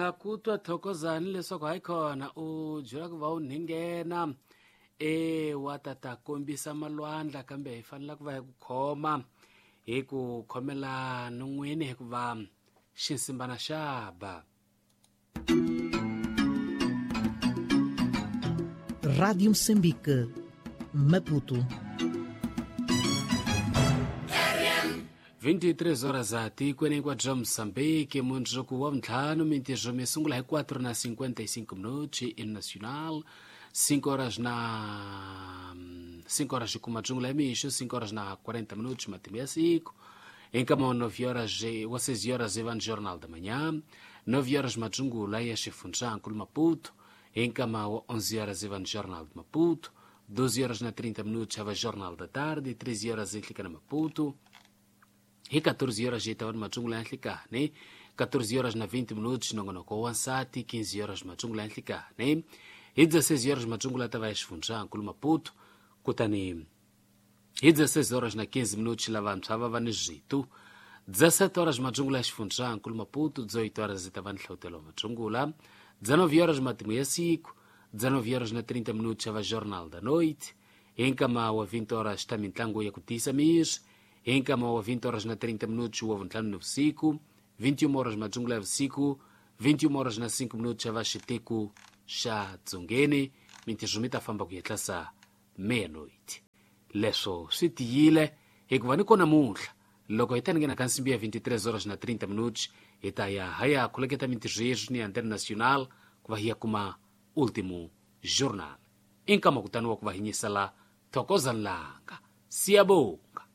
Ha ku twa Thokozani leswaku hayi khona u byela ku va u ninghena e wa ta ta kombisa malwandla, kambe hi fanele ku va hi ku khoma hi ku khomela non'wini hikuva xinsimbana xa ba. Rádio Moçambique, Maputo. 23 horas a tikweni hinkwabyo Moçambique, mundzuku wa vuntlhanu mintirho mi sungula hi 4 na 55 minutos in nacional, 5 horas na 5 horas kuma dzungula ya mixo, 5 horas na 40 minutos matimu ya siku, enkama 9 horas wa 6 horas evano jornal da manhã, 9 horas madzungula ya xifundzhankulu Maputo, enkama wa 11 horas evano jornal de Maputo, 12 horas na 30 minutos ava jornal da tarde, 13 horas enhlika na Maputo, hi 14 horas hi tava ni matsungula ya nhlikani, 14 horas na 20 minutos nongonoko wa nsati, 15 horas matsungula ya nhlikani, hi 16 horas matsungula ta va ya xifundzhankulu Maputo, kutani hi 16 horas na 15 minutos lavantshwa va va ni switu, 17 horas matsungula ya xifundzhankulu Maputo, 18 horas hi ta va ni nhlawutelo wa matsungula, 19 horas matimu ya siku, 19 horas na 30 minutos va jornal da noite, hi nkama wa 20 horas ta mintlangu ya ku tiyisa miri, hi nkama wa 20 horas na 30 minutos wa vuntlhanu ni vusiku, 21 horas matsungula ya vusiku, 21 horas na 5 minutos va xiteku xa dzongeni, mintirho mi ta famba ku yetlasa meia-noite. Leswo swi tiyile hikuva ni kona namuntlha loko hi ta ni nghena ka nsimbi ya 23 horas na 30 minutos hi ta ya ha ya khuleketa mintirho yeswi ni antena nacional ku va hi ya kuma último jornal. I nkama kutani wa ku va hi nyisela Thokozani Langa. Siyabonga.